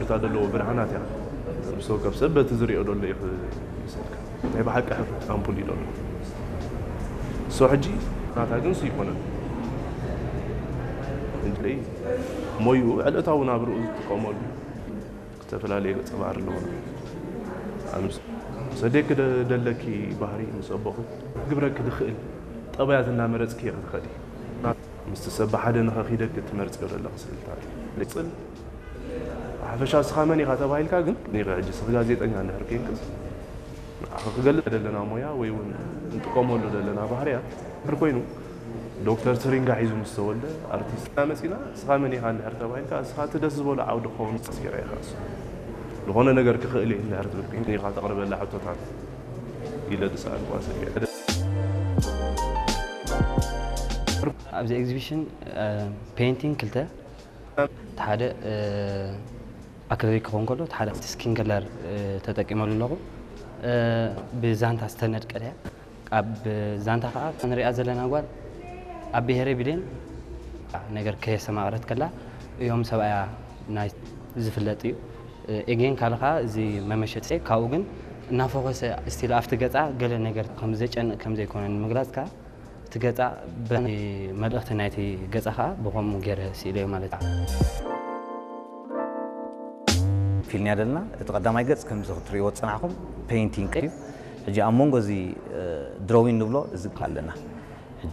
እታ ዘለዎ ብርሃናት እያ። ምስ ወከፍ ሰብ በቲ ዝሪኦ ዘሎ እዩ ክመስለካ። ናይ ብሓቂ ኣምፑል እዩ ዘሎ። ሶ ሕጂ ናታ ግን ሱ ይኮነን። እንድለይ ሞዩ ዕለታዊ ናብርኡ ዝጥቀመሉ ዝተፈላለየ ገጸ ባህሪ ኣለዎ። ኣምስ-፣ ሰደክ ደ-፣ ደለኪ ባህሪ ምስ ኣቦኺ ግብረኪ ዝኽእል ጠባያት እናመረጽኪ ክትኸዲ። ምስቲ ሰብ ብሓደ ንኸኺደኪ ትመርጽዮ ዘለኺ ስእልታት። ጽል ሓፈሻ ስኻ መን ኢኻ ተባሂልካ ግን፣ ኒኸ ሕጂ ስኽ ጋዜጠኛ እንድሕር ኬንክስ፣ ንዓኺ ክገልጽ ዘለና ሞያ ወይ እውን እንጥቀመሉ ዘለና ባህርያት እንድሕር ኮይኑ፣ ዶክተር ትሪንጋ ሒዙ ምስ ተወልደ ኣርቲስት መጺና፣ ስኻ መን ኢኻ እንድሕር ተባሂልካ፣ ስኻ እቲ ደስ ዝበሎ ዓውዲ ክኸውን ጽሲረ ኢኻ። እሱ ዝኾነ ነገር ክኽእል እየ እንድሕር ትብል ኮይንካ፣ ኒኻ ተቕርበላ ሕቶታት ኢለ ዝሰኣልኩዋ ሰብ እየ። ኣብዚ ኤግዚቢሽን ፔይንቲንግ ክልተ፣ እቲ ሓደ ኣክሪሊክ ክኸውን ከሎ፣ እቲ ሓደ ስኪን ከለር ተጠቂመሉ ኣለኹ። ብዛንታ ዝተነድቀት እያ። ኣብ ዛንታ ከዓ ንሪኣ ዘለና ጓል ኣብ ብሄረ ብሌን ነገር ከየስተማቕረት ከላ እዮም ሰብኣያ ናይ ዝፍለጥ እዩ። ኤጌን ካልኻ እዚ መመሸጢ ካብኡ ግን እናፎከሰ ስቲል ኣብቲ ገፃ ገለ ነገር ከም ዘጨንቕ ከም ዘይኮነ ንምግላፅ ከዓ እቲ ገፃ በ-፣ መልእኽቲ ናይቲ ገፃ ከዓ ብኸምኡ ገይረ ስኢለዮ ማለት እዩ። ፊልም እያ ዘለና። እቲ ቀዳማይ ገጽ ከምዚ ክትርእይዎ ዝጸናሕኩም ፔይንቲንግ እዩ። ሕጂ ኣብ መንጎ እዚ ድሮዊን ንብሎ እዚ ኣለና።